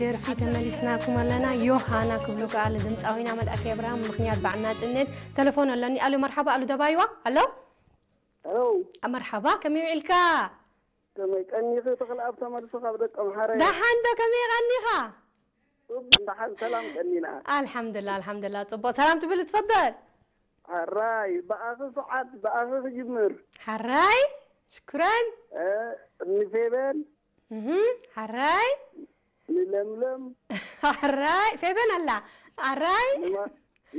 ደርፊ ተመሊስናኩም ኣለና። ዮሃና ክብሉ ከኣ ንድምፃዊና መልኣከ ኣብርሃም ምኽንያት በዓል ናጽነት ተለፎን ኣለኒ። ኣሉ መርሓባ፣ ኣሉ ደባይዋ። ኣሎ። ኣሎ። መርሓባ፣ ከመይ ውዒልካ? ከመይ ቀኒኺ? ተኽለኣብ ተመልሱ ካብ ደቀምሓረ። ደሓን ዶ? ከመይ ቀኒኻ? ጽቡቕ፣ ደሓን ሰላም ቀኒና። ኣልሓምዱላ፣ ኣልሓምዱላ። ጽቡቕ። ሰላም ትብል ትፈደል? ሓራይ፣ ብኣኺ ሰዓት፣ ብኣኺ ክጅምር። ሓራይ፣ ሽኩረን። እ፣ ንፌበን። እህ፣ ሓራይ። ንለምለም። ሓራይ፣ ፌበን ኣላ። ሓራይ። ንማ-፣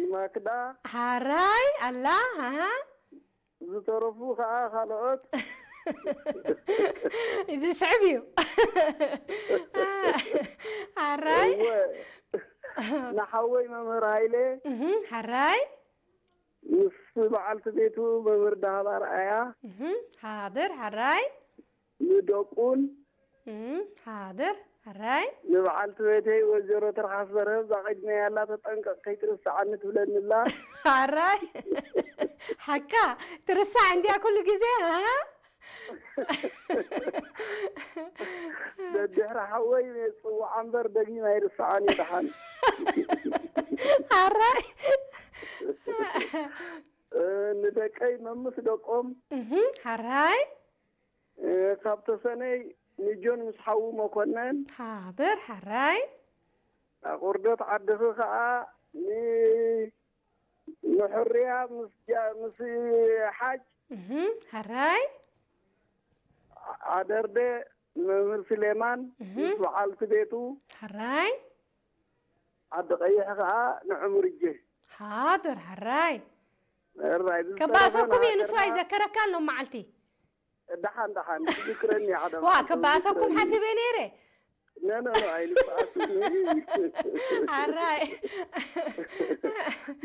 ንማክዳ። ሓራይ ኣላ። ኣሃ። ዝተረፉ ከኣ ካልኦት። እዚ ስዕብ እዩ። ሓራይ። እወ። ንሓወይ መምህር ሃይለ። እህ፣ ሓራይ። ምስ በዓልቲ ቤቱ መምህር ዳህባ ኣርኣያ። እህ፣ ሓድር፣ ሓራይ። ንደቁን። እህ፣ ሓድር፣ ሓራይ። ንበዓልቲ ቤተይ ወይዘሮ ትርሓስ በርሀ፣ እዛ ቀድመይ ኣላ፣ ተጠንቀቕ ከይትርስዓኒ ትብለኒ ኣላ። ሓራይ። ሓቃ፣ ትርሳዕ እንድያ ኩሉ ግዜ፣ ሃ? ደድሕሪ ሓወይ ጽውዓ እምበር፣ ደጊም ኣይርስዓን እዩ፣ ደሓን። ሓራይ። እ፣ ንደቀይ መምስ ደቆም። እህ፣ ሓራይ። እ፣ ካብ ተሰነይ ንጆን ምስ ሓዉ መኮነን። ሓድር፣ ሓራይ። ኣቑርደት ዓድኺ ኸኣ ን-፣ ንሕርያ ምስ ጃ-፣ ምስ ሓጅ። እህ፣ ሓራይ። ኣደርደ ንመምህር ስሌማን እህ። ምስ በዓልቲ ቤቱ። ሓራይ። ዓዲ ቀይሕ ኸኣ ንዕሙርጀ። ሓድር፣ ሓራይ። ሕራይ፣ ብዝተረፈ ከባእሰኩም እየ፣ ንሱ ንሃገርና ኣይዘከረካን ሎም መዓልቲ። ደሓን፣ ደሓን፣ ትዝክረኒ ሓደ ዋ፣ መዓልቲ ከባእሰኩም ትዝክረኒ። ሓሲበ ነይረ። ኖ፣ ኖ፣ ኖ፣ ኣይንበኣስን። ሓራይ።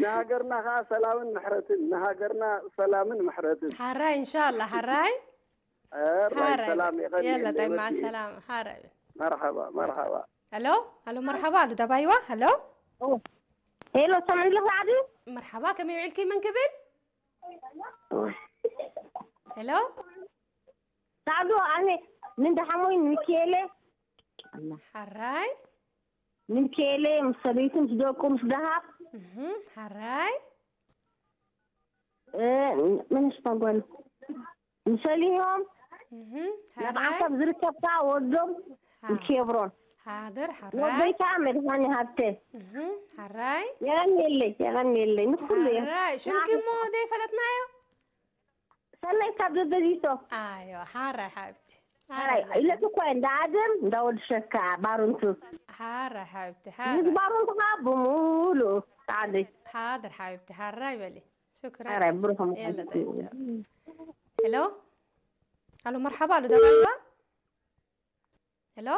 ንሃገርና ኸኣ ሰላምን ምሕረትን፣ ንሃገርና ሰላምን ምሕረትን። ሓራይ፣ ኢንሻላህ፣ ሓራይ። ሕራይ፣ ሓራይ። ሰላም፣ የቐንየለይ፣ የለ፣ ጠይ፣ መሲ። መዓ ሰላም፣ ሓራይ። መርሓባ፣ መርሓባ። ሄሎ፣ ሄሎ፣ መርሓባ፣ ኣሉ ደባይዋ፣ ሄሎ። ሄሎ፣ ሰምዕልኽ ራዕዲ? መርሓባ፣ ከመይ ውዒልኪ? መን ክብል? ሄሎ? ሳዕዶ፣ ኣነ ንደሓሞይ ንሚኪኤለ። ሓራይ። ንሚኪኤለ ምስ ሰበይቱ፣ ምስ ደቁ፣ ምስ ደሃብ። እህ፣ ሓራይ። እ፣ መን ሽማ ጓል? ንሰሊሆም። እህ፣ ናብ ሓራይ። ዓሰብ ዝርከብካ ወዶም ሓ-፣ ንኬብሮን። ሓድር፣ ሓራይ። ወደይ ከዓ መድሃኒ ሃብተ። እህ፣ ሓራይ። የቐንየለይ፣ የቐንየለይ። ንኩሉ እየ። ሓራይ። ሽምኪ እሞ ዘይፈለጥናዮ? ሰናይት ካብ ደደቢቶ። ኣዮ፣ ሓራይ ሓብቲ። ሓራይ፣ ሓራይ። ኢለትኳ እንዳ ኣደም፣ እንዳ ወዲ ሸካ፣ ባሩንቱ። ሓራይ ሓብቲ፣ ሓራይ። ምስ ባሩንቱ ከዓ ብሙሉ ጻዕደይ። ሓድር ሓብቲ፣ ሓራይ በሊ። ሽክረን። ሓራይ፣ ብሩኽ ምዃን የለ፣ ጠይብ፣ ቻው። ሄሎ? ኣሎ፣ መርሓባ፣ ኣሎ፣ ደባይባ? ሄሎ?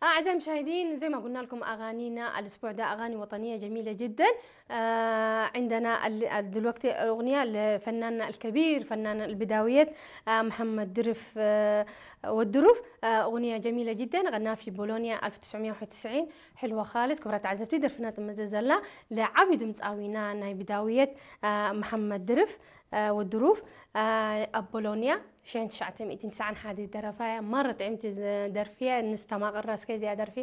أعزائي المشاهدين، زي ما قلنا لكم، أغانينا الأسبوع ده أغاني وطنية جميلة جدًا. آه، عندنا ال-، دلوقتي أغنية لفناننا الكبير، فنان البداويات، آه، محمد درف، آه، والدروف. آه، أغنية جميلة جدًا، غناها في بولونيا ألف وتسعمية وواحد وتسعين. حلوة خالص. ክብራት ተዓዘብቲ፣ ደርፍና ጥመዘ ዘላ ለዓቢ ድምፃዊና ናይ ብዳውየት፣ آه، محمد درف، آه، والدروف. آه، ኣብ ቦሎንያ ሽሕን ትሽዓተ ሚእትን ትስዓን ሓደ ደረፋያ። ማረ ጥዕምቲ ደርፊያ። ንስተማቐራ እስከ እዚኣ ደርፊ።